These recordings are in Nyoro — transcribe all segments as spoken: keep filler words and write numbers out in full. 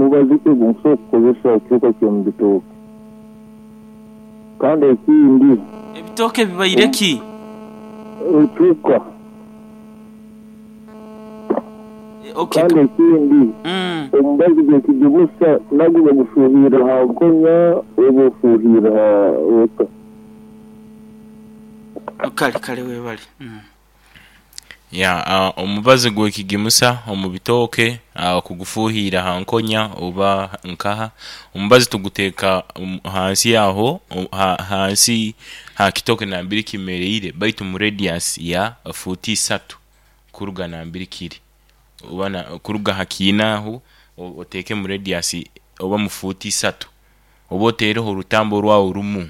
Mubazi ki ogu nkusobora kukozesa ekihuka ky'omu bitooke? Kandi ekindi, Ebitooke bibaire ki? Ekihuka. Eh, okay. Kandi ekindi, Mm. omubazi gw'ekigimusa nagwo bagufuuhirra ha nkonya oba ofuuhirra ha ota? Kale kale, webale mm. Ya, uh, omubazi gw'ekigimusa omu bitooke, uh, kugufuuhirra ha nkonya oba nkaha, omubazi tuguteeka omu hansi aho, ha, hansi ha kitooke nambere kimereire, baitu mu radius ya fuuti isatu kuruga nambere kiri, oba na kuruga ha kiina aho oteeke mu radius oba mu fuuti isatu, oba oteereho orutambu rwawe rumu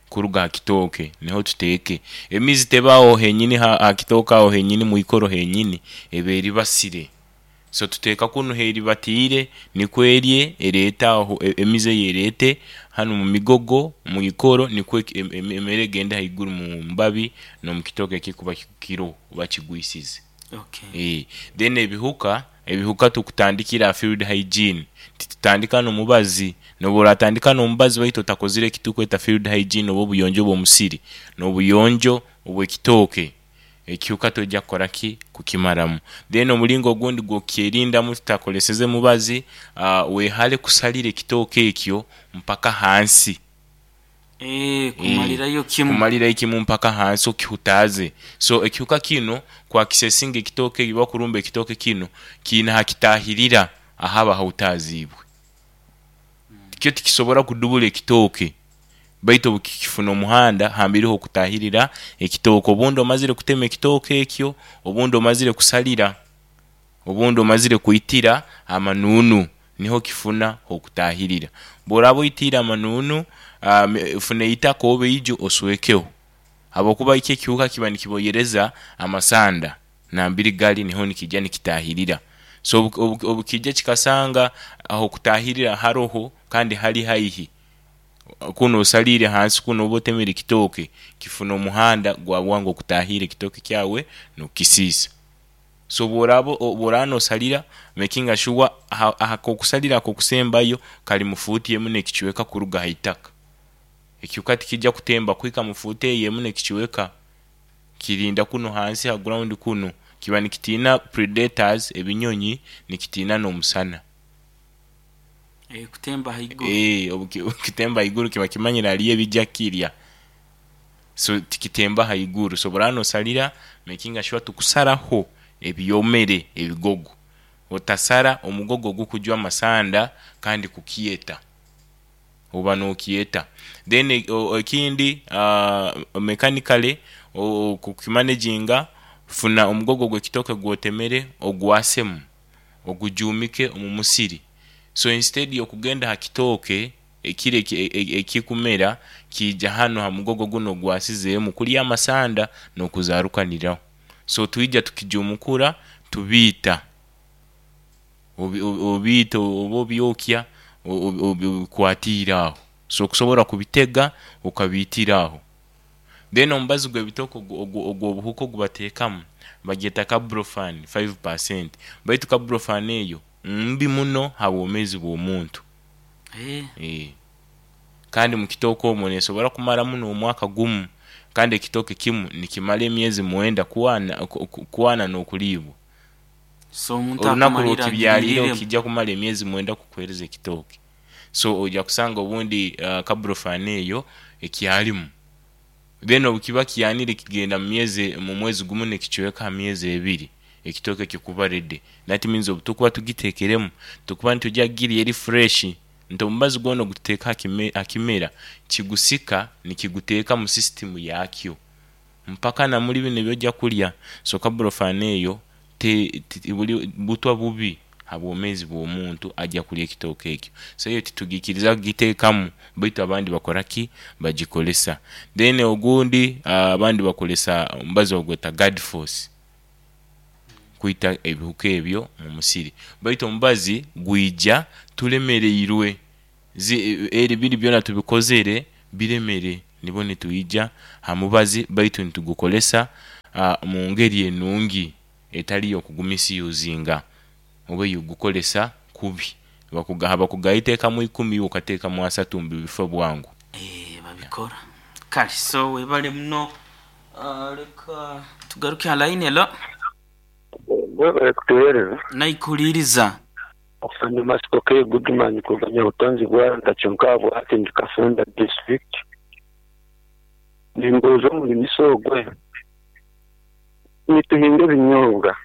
kuruga ha kitooke niho tuteeke. Emizi teba aho henyini ha ha kitooke aho henyini mwikoro henyini, eba eribasire. So tuteeka kunu heribatiire nikwo erye ereete aho e- emizi eyo ereete hanu omu migogo mwikoro nikwo emere egende haiguru mu mbabi n'omukitooke ekikuba kiroho oba kigwisize. Okay. Eeh then ebihuka, ebihuka tukutandikira ha field hygiene, titutandika n'omubazi. N'obu oratandika n'omubazi baitu otakozire ekitukweta field hygiene oba obuyonjo bw'omusiri n'obuyonjo obw'ekitooke, ekihuka toija kukora ki? Kukimaramu. Then omulingo ogundi gw'okukyerindamu tutakoleseze mubazi, uh, wehale kusalira ekitooke ekyo mpaka hansi. Eh, kumalirayo kimu. Kumalirayo kimu mpaka hansi okihutaaze. So ekihuka kinu kwakisesinga ekitooke oba kurumba ekitooke kinu, kiina hakitaahirira ahaba hahutaaziibwe. Kyo tikisobora kudubura ekitooke, baitu obu kikifuna omuhanda hambiri h'okutaahirira ekitooke, obundi omazire kutema ekitooke ekyo, obundi omazire kusalira, obundi omazire kwitira amanunu, niho kifuna h'okutaahirira. Obu oraaba oitiire amanunu, um, funa eitaka oba eiju oswekeho, habwokuba ikyo ekihuka kiba nikiboyereza amasanda nambere gali niho nikiija nikitaahirira. So obu obu obukija kikasanga ah'okutaahirira haroho kandi hali haihi, kunu osaliire hansi kunu oba otemere ekitooke, kifuna omuhanda gwa bwangu okutaahirra ekitooke kyawe n'okukisiisa. So obu oraaba obu oraaba noosalira, mekinga sure aha ah'akokusalira ak'okusembayo kali mu fuuti emu n'ekicweka kuruga haitaka. Ekihuka tikijja kutemba kuhika mu fuuti eyo emu n'ekicweka, kirinda kunu hansi ha ground kunu, kiba nikitiina predators ebinyonyi, nikitiina n'omusana. Eh, kutemba haiguru. Eeh, obu kitemba haiguru kiba kimanyire haliyo ebijja kukirya, so tikitemba haiguru. So obu oraaba noosalira, mekinga sure tokusaraho ebyomere ebigogo, otasara omugogo ogukujwa amasanda kandi kukyeta, oba nookyeta. Then ekindi, uh, mechanically kukimanejinga, funa omugogo gw'ekitooke gw'otemere ogwasemu, ogujuumike omu musiri. So instead y'okugenda ha kitooke ekiri ekikumera, kiija hanu ha mugogo gunu ogwasizeemu kulya amasanda n'okuzaarukaniraho. So twija tukijuumukura tubiita, obi obiita oba obyokya obikwatiire aho. So okusobora kubitega okabiitira aho. Then omubazi gw'ebitooke ogw'obuhuka ogu bateekamu bagyeta Carbofen five percent, baitu Carbofen eyo mbi muno ha bwomeezi bw'omuntu. Eh. Eeh, kandi mu kitooke omwo neesobora kumaramu n'omwaka gumu, kandi ekitooke kimu nikimara emyezi mwenda kwana kwana n'okuliibwa. So omuntu Olunaku akumalira lw'okibyaliireho agiriiremu. kijja kumara emyezi mwenda kukuheereza ekitooke. So oija kusanga obundi uh, Carbofen eyo ekyalimu. Then obu kiba kyanire kigenda mu myezi mu mwezi gumu n'ekicweka ha myezi ebiri ekitooke kikuba ready. That means obu tukuba tugiteekeremu, tukuba nitwija kugirya eri fresh, nti omubazi gwona ogututeeka ha kime ha kimera kigusika nikiguteeka mu system yakyo mpaka na muli binu ebi ojja kulya. So Carbofen eyo te buli butwa bubi ha bwomeezi bw'omuntu ajja kulya ekitooke ekyo. So eyo titugiikiriza kugiteekamu, baitu abandi bakora ki? Bagikolesa. Then ogundi, abandi bakolesa omubazi bagweta Guard Force kwita ebihuka ebyo mu musiri, baitu omubazi gwija tulemereirwe, eri biri byona tubikozere biremere, nibwo nitwija ha mubazi baitu nitugukolesa uh, mu ngeri enungi etali y'okugumisiyuzinga oba ey'okugukolesa kubi. Bakugaha bakugaiteekamu ikumi, ukateekamu asatu mbu bife bwangu. Eh, babikora kale. So webale muno. Ah, leka tugaruke ha line. Hello. Webale kutuweereza. Naikuliriza. Afande Masiko K Goodman kuganya butonzi bwa kyonka bwati ndi Kasanda district. Nimbuuza omulimisa ogwe, nituhinga ebinyobwa,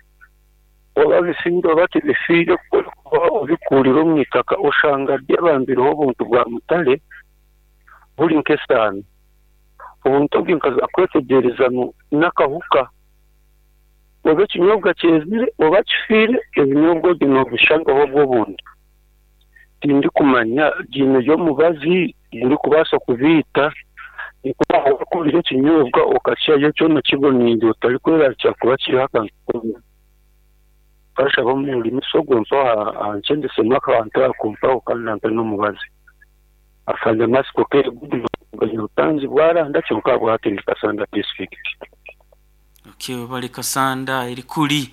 oba bifiire oba tibifiire, kuba obikurira omu itaka oshanga byabambireho obuntu bwa mutare buri nk'esaano. Obuntu obwo nkaza kwetegyereza ngu n'akahuka. Oba ekinyobwa kyezire oba kifiire, ebinyobwa ebyo noobishangaho obwo obuntu. Tindikumanya giine ry'omubazi gurikubaasa kubiita, nikuba wakurira ekinyobwa okakyihayo kyona kiboniire otarikwerarikira kuba kiriho akantu koona. Nkashaba omurimisa ogwo mpaho ankyendesemu akantu ako mpaho kandi ampe n'omubazi. Afande Masiko K Goodman, butanzi bwaranda kyonka bwati ndi Kasanda district. Okay, webale Kasanda eri kuli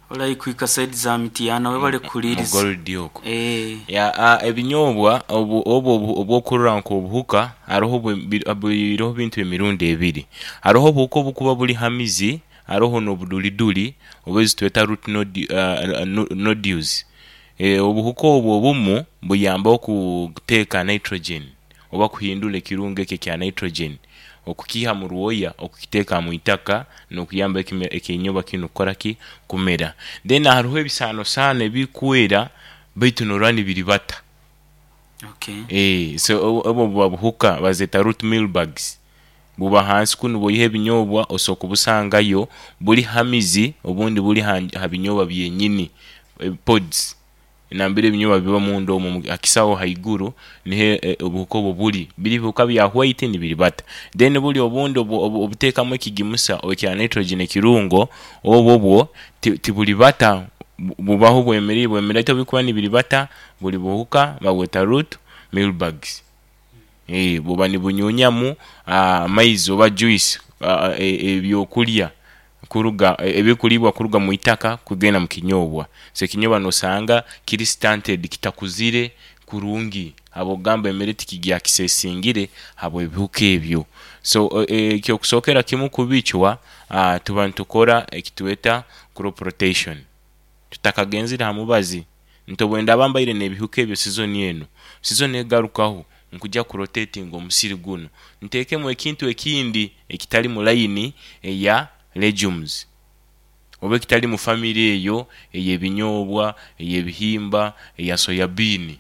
olayikwika side za Mitiyana. Webale kuliriza. Mugoldi okwo. Eh. Ya, a, ebinyobwa obu obu obu- obwokurora nk'obuhuka hariho bwe- bi- biriho bintu emirundi ebiri. Hariho obuhuka obukuba buri hamizi, hariho n'obuduliduli oba ezitweta root nodi, uh, nodules. E, obuhuka obwo obumu buyamba okuteeka nitrogen oba kuhindura ekirungo ekyo ekya nitrogen okukiiha mu rwoya okukiteeka mu itaka n'okuyamba ekime- ekinyobwa kinu kukora ki kumera. Then hariho ebisaanosaano ebikwera baitu norora nibiribata. Okay. Eh, so obu obwo buba buhuka bazeeta root mealybugs. Buba hansi kunu bwoiha ebinyobwa osobola kubusangayo buri hamizi, obundi buri ha, ha binyobwa byenyini, eh, pods nambere ebinyobwa biba munda omwo hakisaho haiguru niho eh, obuhuka obwo buri biri bihuka bya white nibiribata. Then buri obundi obu- obu- obuteekamu ekigimusa ekya nitrogen ekirungo obwo bwo ti- tiburibata, bu- bubaho bwemerire bwemerire baitu obubikuba nibiribata buri buhuka babweta root mealybugs. Eh, buba nibunyunyamu amaizi oba juice, ah, e- ebyokurya kuruga ebikuribwa kuruga mu itaka kugenda mu kinyobwa. So ekinyobwa nosanga kiri stunted, kitakuzire kurungi, habwokugamba emere tikigyakisesingire habw'ebihuka ebyo. So ekyokusookera kimu kubicwa, ah, tuba nitukora ekitweta crop rotation tutakagenzire ha mubazi. Nti obu ndaba mbaire n'ebihuka ebyo season enu, season egarukaho nkujya kurotatinga omusiri gunu nteekemu ekintu ekindi ekitali mu line eya legumes oba ekitali mu family eyo ey'ebinyobwa, ey'ebihimba, eya soya bean,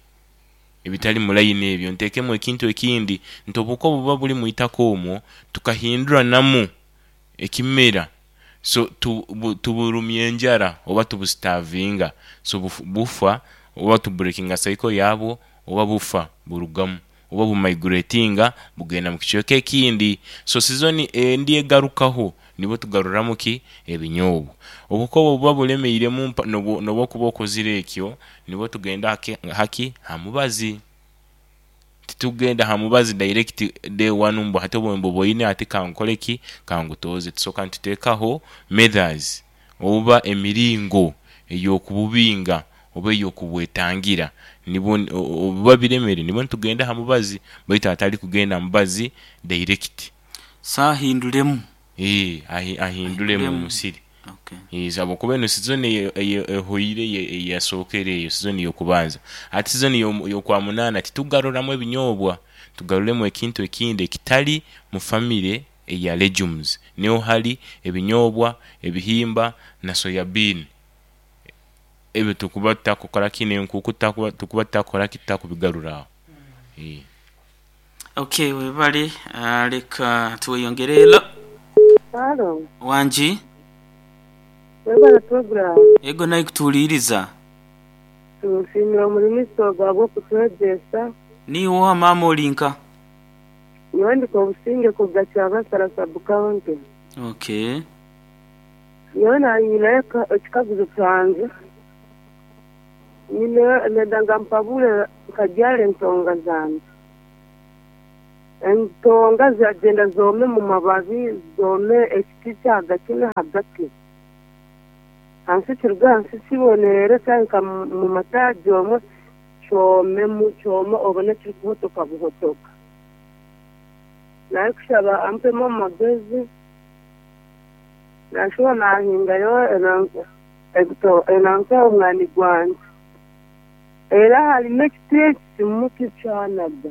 ebitali mu line ebyo nteekemu ekintu ekindi. Nti obuhuka obuba buri mu itaka omwo tukahinduranamu ekimera, so tu, bu, tuburumya enjara oba tubustarvinga, so bufu, bufa oba tubreakinga cycle yabwo oba bufa burugamu oba bumigratinga bugenda mu kicweka ekindi. So season endi egarukaho nibwo tugaruramu ki ebinyobwa. Obuhuka obwo buba bulemeiremu mpa- nobu nobu okuba okozire ekyo nibwo tugenda haki, haki ha mubazi. Titugenda ha mubazi direct day one mbu hati obu mbuboine hati kankole ki kangutoze. Tusooka nituteekaho methods oba emiringo ey'okububinga oba ey'okubwetangira, nibwo obuba biremere nibwo nitugenda ha mubazi, baitu hatali kugenda ha mubazi direct. Saahinduremu. Eh, ahi- ahinduremu Ahinduremu. omusiri. Okay. Eh, habwokuba eno season eyo- eyo- ehoire eyasookere eyo season y'okubanza. Ati season y'omu- y'okwa munaana titugaruramu ebinyobwa, tugaruremu ekintu ekindi ekitali mu family eya legumes. Niho hari ebinyobwa, ebihimba na soya bean. Ebyo tukuba tutakukora ki n'enkuku tutakuba tukuba tutakukora ki tutakubigarura aho. Eh. Okay, webale. Ah, leka tweyongere. Hello. Halo, Wangi. webale program. Ego naikutuuliriza. Tusiimira omurimisa ogwo ahabw'okutwegyesa. Niiwe maama olinka? Nyowe ndika obusinge kuruga Kyabasara sub county. Okay. Nyowe nanyinayo ekikaguzo kyange. Nyine nenda nga mpabure nkabyara entonga zange. Entonga ziragenda zoome mu mababi, zoome ekiti kyahagati n'ahagati. Hansi kiruga hansi kibonerere kyahika mu mataagi omwe Kyomemu kyoma obone kiri kuhotoka buhotoka. Narikushaba ampemu amagezi. Nashuba nahingayo ebito enanka omwani gwange. Era harimu ekiti ekimu kikyanaga.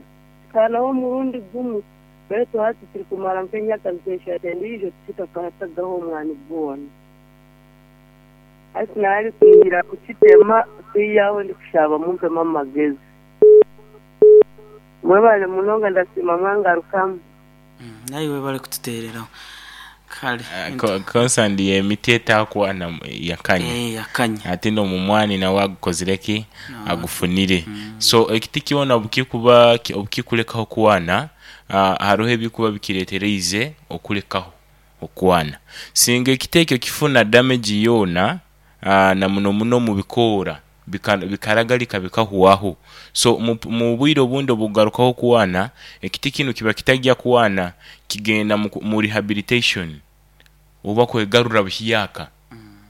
Kyanaho omurundi gumwe. Baitu hati kiri kumara nk'emyaka nk'eshatu endiijo kitakatagaho omwani gwona. Hati nari kwihira kukitema kwihaho ndikushaba mumpemu amagezi. Mwebale munonga ndasiima mwangarukamu. Mm, nawe bari kututereraho kale. Konsandi emiti etakwana yakanya. Eh, yakanya. Ate n'omumwani nawe agukozire ki? No. Agufunire. So ekiti kyona obukikuba obukikulekaho kwana, uh, hariho ebikuba bikiretereize okulekaho okwana. Singa ekiti ekyo kifuna damage yoona, uh, na muno muno mu bikoora bika- bikaragalika bikahwaho. So mu, mu bwire obundi obugarukaho kwana, ekiti kinu kiba kitagya kwana, kigenda mu, ku- mu rehabilitation oba kwegarura buhyaka.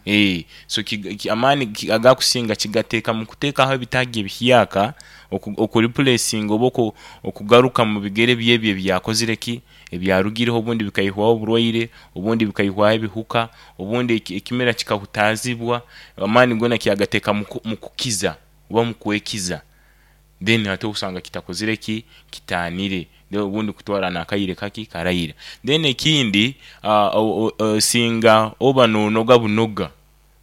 Eh, so ki, ki, amaani ki- agakusinga kigateeka mu kuteekaho ebitaagi ebihyaka oku, okureplacinga oba oku, okugaruka mu bigere byebyo ebyakozire ki ebyarugireho, obundi bikaihwaho oburwaire, obundi bikaihwaho ebihuka, obundi eki- ekimera kikahutaazibwa. Amaani gona kyagateeka mu ku- mu kukiza oba mu kwekiza, then ate osanga kitakozire ki kitaanire. Then obundi kutwara n'akaire kaki karayira. Then ekindi, uh, o, o, singa oba nonoga bunoga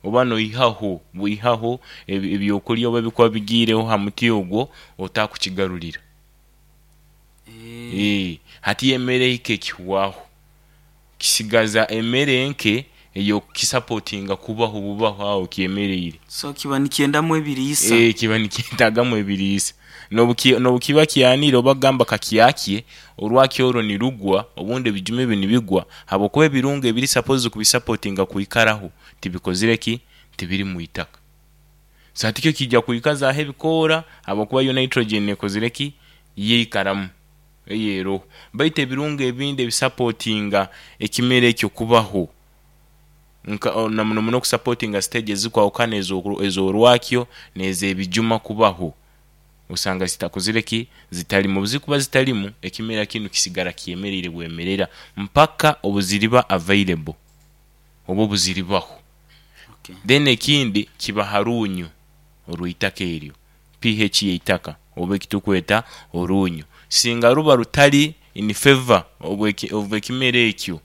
oba noihaho bwihaho ebi- ebyokurya oba ebikuba bigiireho ha muti ogwo, otakukigarurira. Eh, Eh, hati emmere ike ekihwaho, kisigaza emmere nke eyokukisapotinga kubaho bubaho aho kyemereire. So kiba nikyendamu ebiriisa. Eh, kiba nikyetagamu ebiriisa. Nobuki- nobukiba kyanire oba gamba kakyakye orwaki orwo nirugwa, obundi ebijuma ebi nibigwa habwokuba ebirungo ebiri suppose kubisapotinga kwikaraho tibikozire ki tibiri mu itaka. So hati kyo kijja kwikazaho ebikoora habwokuba yo nitrogen ekozire ki yeikaramu eyeroho, baitu ebirungo ebindi ebisapotinga ekimera ekyo kubaho nka o- na muno muno okusapotinga stage ezikwahukana ez'oku- ez'orwakyo n'ez'ebijuma kubaho, osanga zitakozire ki zitalimu. Obuzikuba zitalimu, ekimera kinu kisigara kyemereire bwemerera mpaka obuziriba available oba obuziribaho. Okay. Then ekindi kiba harunyu orw'itaka eryo, pH y'eitaka oba ekitukweta orunyu, singa ruba rutari in favor of ekimera ekyo,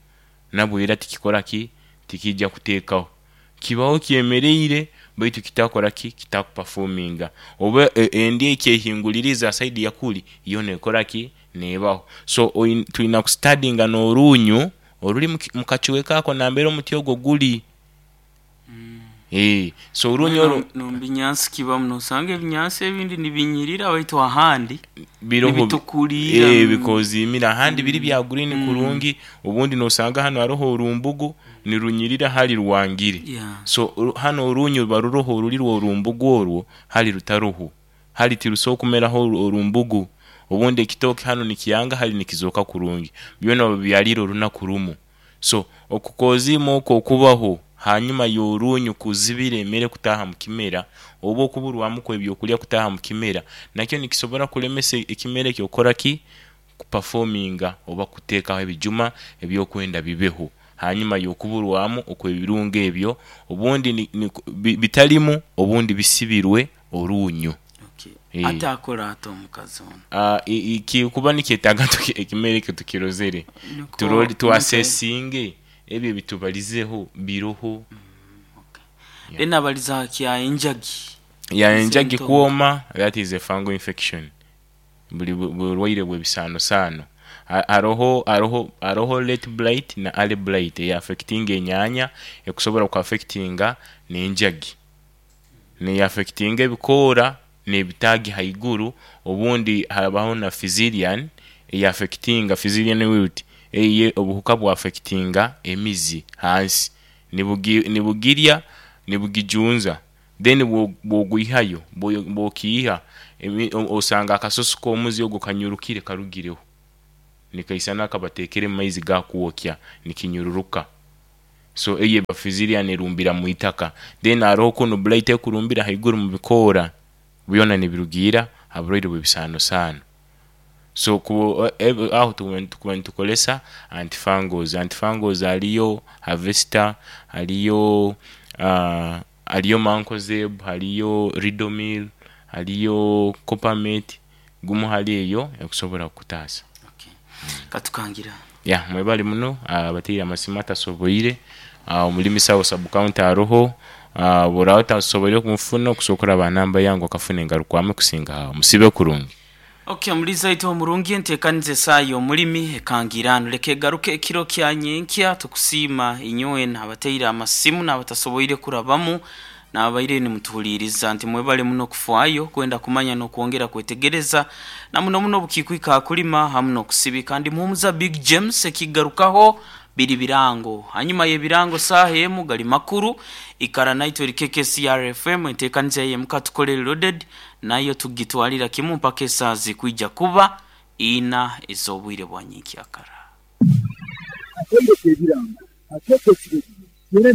nabwo era tikikora ki tikijja kuteekaho, kibaho kyemereire baitu kitakora ki kitakuperforminga oba e- endi ekyehinguliriza side yakuli yo nekora ki nebaho. So oin- tulina kustadinga n'orunyu oruli mu ki- mu kacweka ako nambere omuti ogwo guli. Eh, so orunyu oru Nombinyansi kibamu, nosanga ebinyansi ebindi nibinyirira baitu ahandi biroho nibitukurira. eh, bikozimira ahandi biri bya green kurungi. Obundi nosanga hano hariho orumbugu nirunyirira hali rwangire. Yeah. So oru- hano orunyu ruba ruroho oruli rw'orumbugu orwo hali rutaroho, hali tirusobola kumeraho oru- orumbugu. Obundi ekitooke hano nikiyanga, hali nikizoka kurungi, byona babyalire orunaku rumu. So okukozima okwo okubaho hanyuma y'orunyu kuzibira emere kutaha mu kimera oba okuburwamu kw'ebyokulya kutaha mu kimera, nakyo nikisobora kulemesa ekimera ekyo okukora ki kuperforminga oba kuteekaho ebijuma ebyokwenda bibeho hanyuma y'okuburwamu okw'ebirungo ebyo, obundi ni, ni, bi- bitalimu, obundi bisibirwe orunyu. Okay. Eh. Ate akora ate omukazi ono? Uh, kikuba nikyetaaga tuki- ekimera ekyo tukirozere, Niko- turole twasesinge ebyo bitubalizeho biroho. Then abaliza kya enjagi. Ya enjagi Symptom. kwoma, that is a fungal infection, buli bu- bulwaire bw'ebisaanosaano. Ha- haroho haroho haroho late blight na early blight eya affectinga enyanya, ekusobora kuaffectinga n'enjagi, neyaffectinga ebikoora n'ebitaagi haiguru. Obundi habaho na Fusarium eyaffectinga, Fusarium wilt, eye obuhuka bwaffectinga emizi hansi, nibugi- nibugirya nibugijunza. Then bwo- bwogwihayo bwo- bwokiiha emi- o- osanga akasoso k'omuzi ogwo kanyurukire karugireho, nikaisana akabateekere mu maizi gakwokya, nikinyururuka. So eyo eba Fusarium erumbira mu itaka. Then haroho kunu blight ekurumbira haiguru mu bikoora. Byona nibirugiira ha burwaire bw'ebisaanosaano. So ku eh, aho tukuba tukuba nitukolesa antifungals. Antifungals haliyo Harvester, haliyo uh, haliyo Mancozeb, haliyo Ridomil, haliyo Coppermate, gumu hali eyo ekusobora kukutaasa. Okay. Katukangira. Ya, mwebale muno abateire amasimu atasoboire. uh, omulimi sawo sub county aroho, uh, bw'oraba otasoboire kumufuna, okusobola kuraba namba yange okafuna engarukwame kusinga aho. Musibe kurungi. Okay, omuliza itu omurungi, enteekaniza esaayo omulimi ekangirano leka egaruke ekiro kya nyenkya. Tukusiima inywe n'abateire amasimu n'abatasoboire kurabamu n'abaire nimutuhuliiriza, nti mwebale muno kufaayo kwenda kumanya n'okwongera kwetegereza na muno muno obukiikwika akulima hamu n'okusibika. Ndi Muhumuza Big James. Ekigarukaho biri birango, hanyuma y'ebirango saaha emu gali makuru. Ikara naitwe eri K K C R F M. Enteekaniza yemuka tukole loaded nayo tugitwalira kimu mpaka esaaha zikwija kuba ina ez'obwire bwa nyenkyakara. Akaire k'ebirango akeekesire yena ne.